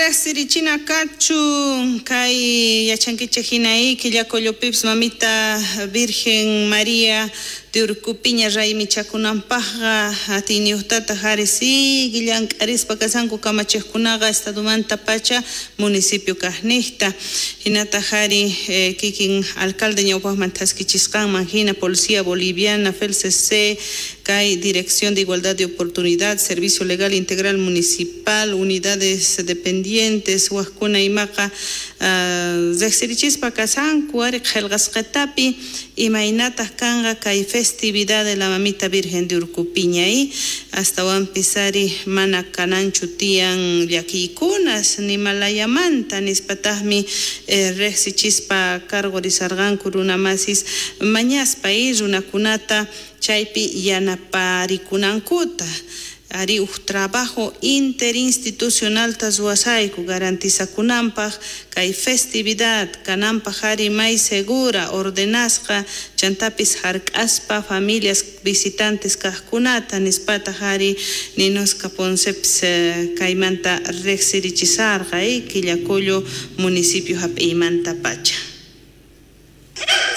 Riqsirichina kachun kay yachankichik hina Quillacollopipis mamita Virgen María de Urcupiña raymichakunanpaqqa atiyniyuqtataq ari sigui llank'arispa kasanku kamachiqkunaqa estadomanta pacha municipio kaqniqta hinataq ari kikin alcalde ñawpaqman thaskichisqanman hina Policía Boliviana FELCC kay Dirección de Igualdad de Oportunidad Servicio Legal Integral Municipal unidades dependientes waqkuna imaqa riqsirichispa kasanku ari qillqasqatapi imaynataq kanqa kay festividad de la Mamita Virgen de Urcupiña astawanpis ari mana kananchu tiyan llakiykunas nimalayamanta nispataqmi riqsichispa cargorisarqanku runamasis mañaspa runakunata chaypi yanaparikunankuta ari uj trabajo interinstitucional ruwasayku garantizakunanpaq kay festividad kananpaq ari may segura ordenasqa chantapis hark'aspa familias visitantes kaqkunata nispataq ari Ninoska Poncepis kaymanta riqsirichisarqa Quillacollo municipio hap'iymanta pacha.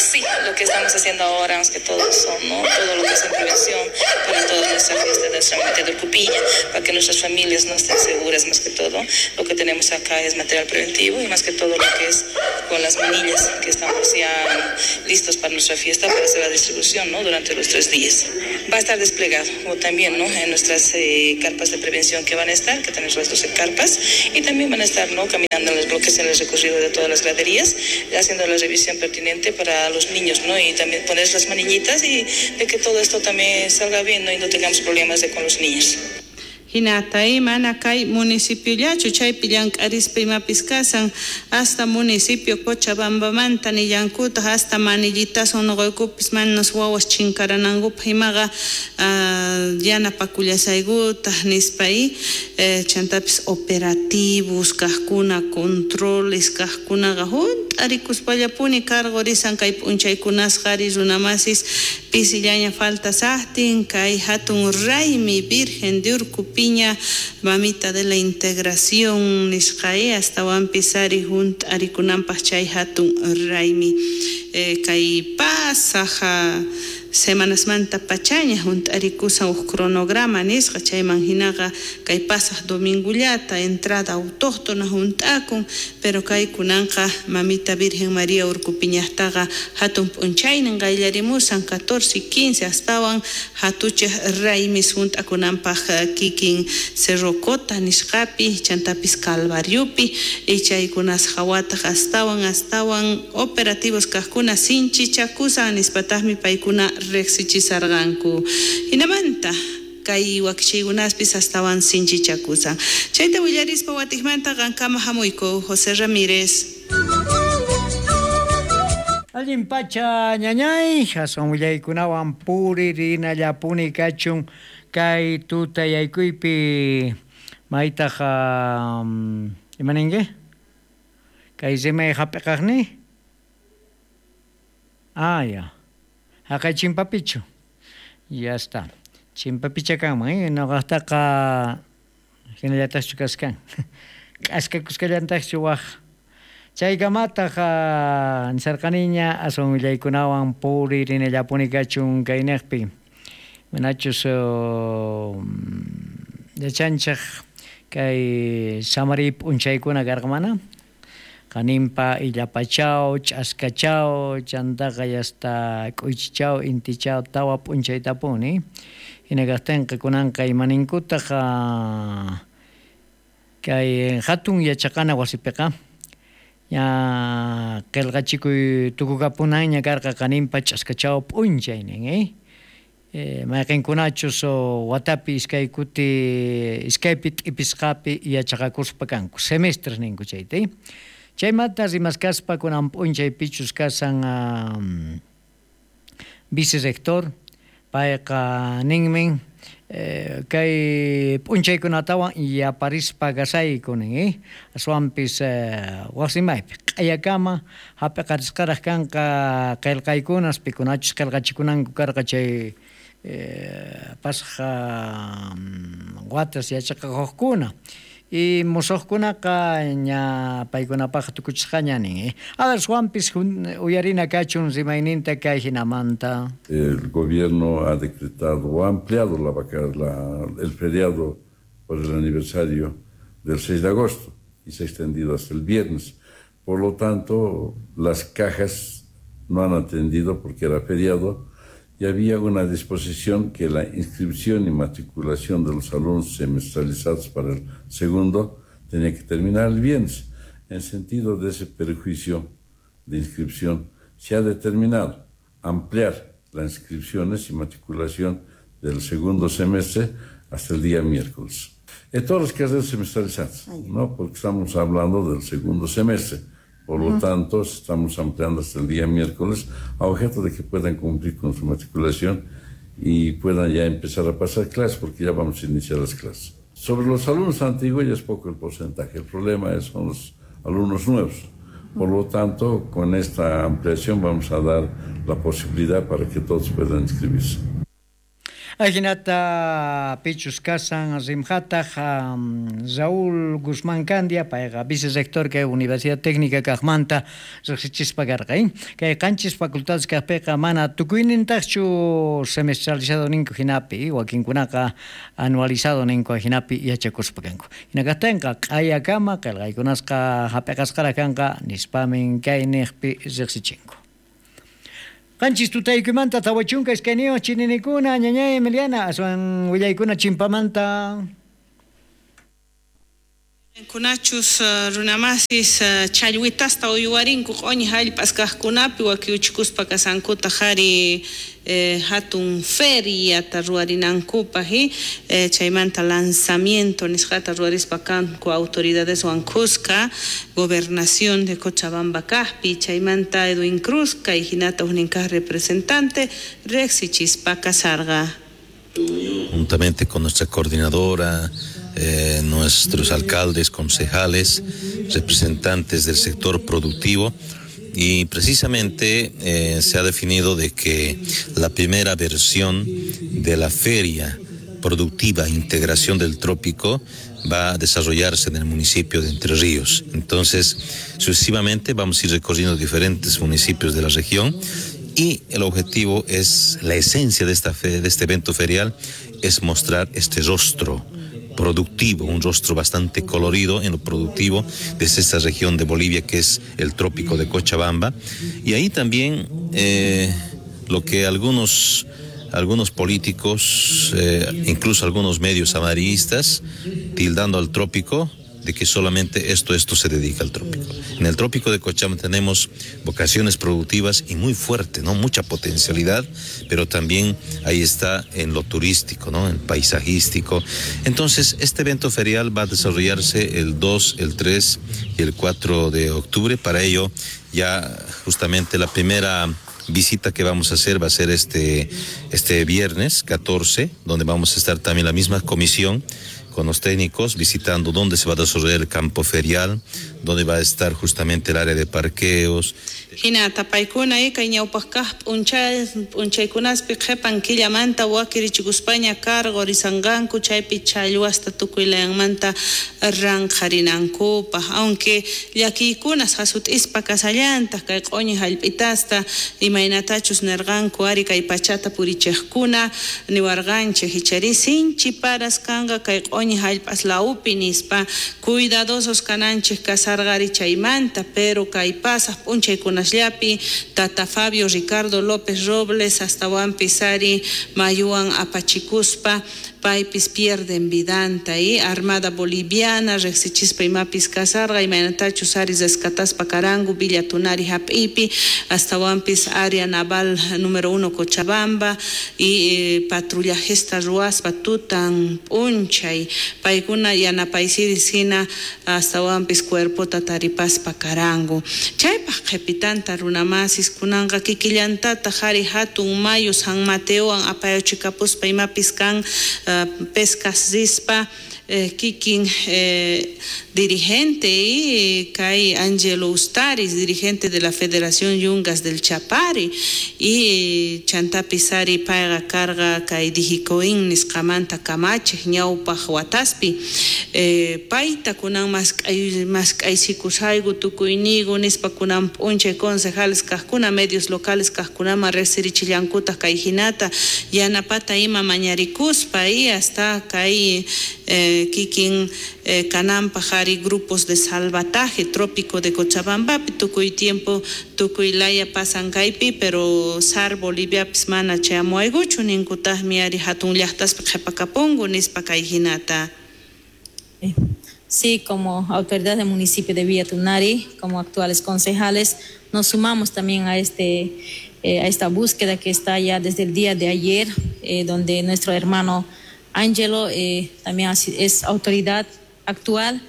Sí, lo que estamos haciendo ahora, más que todo son, ¿no? Todo lo que es en prevención para toda nuestra fiesta de nuestra Mamita de Urcupiña, para que nuestras familias no estén seguras, más que todo. Lo que tenemos acá es material preventivo y más que todo lo que es con las manillas, que estamos ya listos para nuestra fiesta, para hacer la distribución, ¿no? Durante los 3 días. Va a estar desplegado, o también, ¿no? En nuestras carpas de prevención que van a estar, que tenemos las 12 carpas, y también van a estar, ¿no? Caminando en los bloques, en el recorrido de todas las graderías, haciendo la revisión pertinente para los niños, ¿no? Y también poner las manillitas y de que todo esto también salga bien, ¿no? Y no tengamos problemas con los niños. Hinata mana kay municipiollachu chaypi llank'arispa imapis kasan hasta municipio Cochabambamanta nillankutaq hasta manillitasun nuqaykupis manas wawas chinkaranankupaq imaqa yanapakullasaykutaq nispa chantapis operativos kaqkuna controles kaqkunaqa hunt'arikuspallapuni cargorisan kay p'unchaykunasqa ari runamasis pisillaña falta saqtin kay hatun raymi Virgen de Urcupiña Mamita de la Integración nisqa astawanpis ari hunt'arikunanpaq chay hatun raymi kay pasaq semanasmanta pachaña hunt'arikusan uj cronograma nisqa chayman hinaqa kay pasaq domingullata entrada autóctona hunt'akun pero kay kunanqa Mamita Virgen María Urcupiñaqtaqa hatun p'unchaynin qayllarimusan 14 y 15 astawan hatuchej raymis hunt'akunanpaq kikin Cerro Cota nisqapi chantapis Calvariopi y chaykunas hawataq astawan operativos kaqkuna sinchichakusan nispataqmi paykuna riqsichisarqanku hinamanta kay wakichiykunaspis astawan sinchichakusan chayta willarispa watiqmanta qankama hamuyku José Ramírez. Allin pacha ñañay aswan willaykunawan puririnallapuni kachun kay tutayaykuypi maytaq imaninki kay rimay hap'iqaqni ya haqay chimpapichu ya está chimpapicha kanman nuqaqtaqa hinallataqchu kaskan k'askakusqallantaqchu waq chaykamataq nisarqaniña aswan willaykunawan puririnallapuni kachun kayniqpi manachus yachanchik kay samari p'unchaykuna karqa mana qaninpa illapachaw ch'askachaw chantaqa yasta k'uychichaw intichaw tawa p'unchaytapuni hina kaqtinqa kunanqa imaninkutaq kay hatun yachaqana wasipiqa ña qillqachikuy tukukapunanña karqa qaninpa ch'askachaw p'unchaynin mayqinkunachus watapi iskay kuti iskaypi t'ipisqapi yachaqakuspa kanku semestres ninku chayta chaymanta rimaskaspa kunan p'unchaypichus kasan vicerrector payqa ninmin kay p'unchaykunatawan yaparispa kasayku nin aswanpis wasimaypi q'ayakama hap'iqarisqaraq kanqa qillqaykunas pikunachus qillqachikunanku karqa chay pasaq watas yachaqakuqkuna Y musuqkunaqa ña paykunapaq tukuchisqaña nin. A ver, Juanpis uyarina kachun rimayninta kay hinamanta. El gobierno ha decretado o ha ampliado el feriado por el aniversario del 6 de agosto y se ha extendido hasta el viernes. Por lo tanto, las cajas no han atendido porque era feriado y había una disposición que la inscripción y matriculación de los alumnos semestralizados para el segundo tenía que terminar el viernes. En sentido de ese perjuicio de inscripción, se ha determinado ampliar las inscripciones y matriculación del segundo semestre hasta el día miércoles. En todas las carreras semestralizadas, ¿no? Porque estamos hablando del segundo semestre. Por lo tanto, estamos ampliando hasta el día miércoles a objeto de que puedan cumplir con su matriculación y puedan ya empezar a pasar clases, porque ya vamos a iniciar las clases. Sobre los alumnos antiguos ya es poco el porcentaje, el problema son los alumnos nuevos. Por lo tanto, con esta ampliación vamos a dar la posibilidad para que todos puedan inscribirse. Ajinata pichus kasan rimhataq Raúl Guzmán Candia, payqa vicerrector kay Universidad Técnica kaqmanta riqsichispa karqa. Kay qanchis facultades kaqpiqa mana tukuynintaqchu semestralizado ninku hinapi, wakinkunaqa anualizado ninku hinapi yachakuspa kanku. Hina kaqtinqa q'ayakama qillqaykunasqa hap'iqasqara kanqa nispamin kay niqpi riqsichinku. Qanchis tutaykumanta 42 chininikuna ñañay Emiliana aswan willaykuna chimpamanta. Kunachus runamasis challwitasta uywarinku q'uñi hallp'as kaqkunapi wakiuchikuspa kasankuta qhari hatun feriata ruwarinankupaq chaymanta lanzamiento nisqata ruwarispa kanku autoridadeswan kuska gobernación de Cochabamba kaqpi chaymanta Edwin Cruz kay hinata huknin kaq representante riqsichispa kasarqa. Juntamente con nuestra coordinadora, nuestros alcaldes, concejales, representantes del sector productivo, y precisamente se ha definido de que la primera versión de la feria productiva Integración del Trópico va a desarrollarse en el municipio de Entre Ríos. Entonces, sucesivamente vamos a ir recorriendo diferentes municipios de la región y el objetivo es, la esencia de esta de este evento ferial es mostrar este rostro productivo, un rostro bastante colorido en lo productivo desde esta región de Bolivia que es el trópico de Cochabamba. Y ahí también lo que algunos políticos, incluso algunos medios amarillistas, tildando al trópico de que solamente esto se dedica al trópico. En el trópico de Cochabamba tenemos vocaciones productivas y muy fuerte, ¿no? Mucha potencialidad, pero también ahí está en lo turístico, ¿no? En paisajístico. Entonces, este evento ferial va a desarrollarse el 2, el 3 y el 4 de octubre. Para ello, ya justamente la primera visita que vamos a hacer va a ser este viernes 14, donde vamos a estar también la misma comisión con los técnicos visitando dónde se va a desarrollar el campo ferial, dónde va a estar justamente el área de parqueos. Hina tapaykuna kay ñawpaq kaq p'unchaykunaspi qhipan killamanta wakirichikuspaña cargo risanqanku chaypi challwasta tukuy layanmanta ranqharinankupaq, aunque llakiykunas hasut'ispa kasallantaq kay q'uñi hallp'itasta imaynatachus nirqanku ari kay pachata purichiqkuna niwarqanchik ichari sinchi paras kanqa kay q'uñi hallp'as lawpi nispa cuidadosos kananchik kasarqari chaymanta, pero kay pasaq p'unchaykunasllapi Tata Fabio Ricardo López Robles astawanpis ari mayuwan apachikuspa paypis pierden vidanta y Armada Boliviana riqsichispa imapis kasarqa imaynatachus ari rescataspa karanku Villa Tunari hap'ipi astawanpis área naval número 1 Cochabamba y patrullajesta ruwaspa tutan p'unchay paykuna yanapaysiris hina astawanpis cuerpota taripaspa karanku chaypaq qhipitanta runamasis kunanqa kikillantataq ari hatun mayu San Mateowan apayachikapuspa imapis kan pescas rispa Kikin dirigente y kay Angelo Ustaris, dirigente de la Federación Yungas del Chapari, y chantapis ari payqa karqa kay Dijicoin nisqamanta kamachej ñawpaj wataspi, payta kunan mask'aysikusayku tukuyniyku nispa kunan p'unchay concejales kajkuna medios locales kajkunaman riqsirichillankutaj kay hinata yanapata ima mañarikuspa y hasta kay kikin kananpaj ari grupos de salvataje trópico de Cochabambapi tukuy tiempo tukuy laya pasan kaypi, pero SAR Boliviapis mana chayamuwaykuchu ninkutajmi ari hatun llaqtaspi qhipakapunku nispa kay hinata. Sí, como autoridad del municipio de Villa Tunari, como actuales concejales, nos sumamos también a esta búsqueda que está ya desde el día de ayer, donde nuestro hermano Ángelo también es autoridad actual.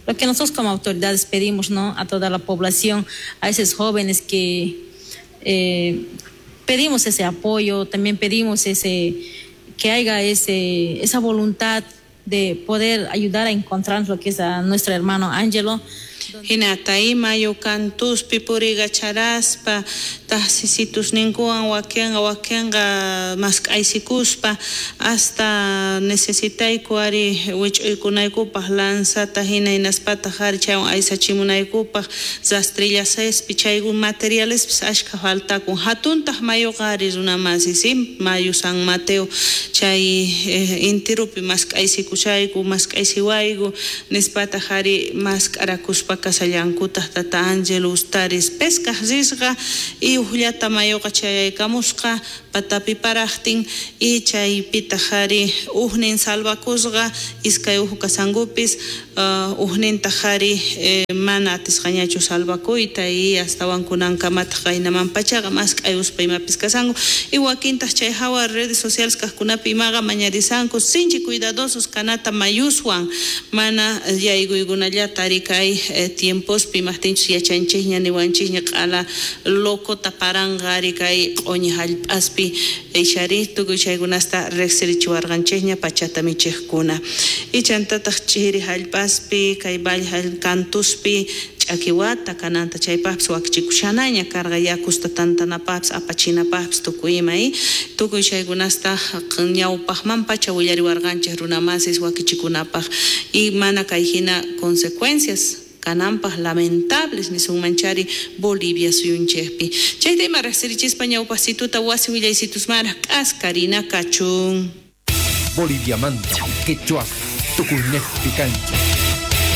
Lo que nosotros como autoridades pedimos, ¿no?, a toda la población, a esos jóvenes que pedimos ese apoyo, también pedimos que haya esa voluntad de poder ayudar a encontrar lo que es a nuestro hermano Ángelo. Hinata ima yukantuspi purigacharaspa tajsisitusninkuwan wakenqa mask'aysikuspa hasta necesitayku ari wich'uykunaykupaj lanzata hina hinaspataq ari chaywan aysachimunaykupaj rastrillasespi chayku materialespis ashkha faltakun hatuntaq mayuqa ari runamasi si mayu San Mateo chay intirupi mask'aysikushayku mask'aysiwayku nispataq ari mask'arakuspa kasallankutaq tata Ángelo Ustaris pescaj risqa y ujllata mayuqa chayaykamusqa patapi parajtin y chaypitaq ari ujnin salvakusqa iskay uju kasankupis ujnintaq ari mana atisqañachu salvakuyta y astawan kunankamataq qaynaman pachaqa mask'ayuspa imapis kasanku y wakintaq chay hawa redes sociales kajkunapi imaqa mañarisanku sinchi cuidadosos kanata mayuswan mana yaykuykunallata ari kay tiempospi imajtinchus yachanchikña niwanchikña q'ala locota paranqa ari kay q'uñi hallp'aspi ixari tukuy chaykunasta riqsirichiwarqanchikña pachata michiqkuna y chantataq chiri hallp'aspi kay valle kantuspi ch'akiwata kananta chaypaqpis wakichikushanaña karqa yakusta tantanapaqpis apachinapaqpis tukuy ima tukuy chaykunasta ñawpaqman pacha willariwarqanchik runamasis wakichikunapaq y mana kay hina consecuencias kananpaq lamentables nisunmanchari Bolivia suyunchikpi. Chayta ima riqsirichispa ñawpaqsituta wasi willaysitusmaraq k'askarina kachun. Boliviamanta, quechua, tukuynejpi kancha.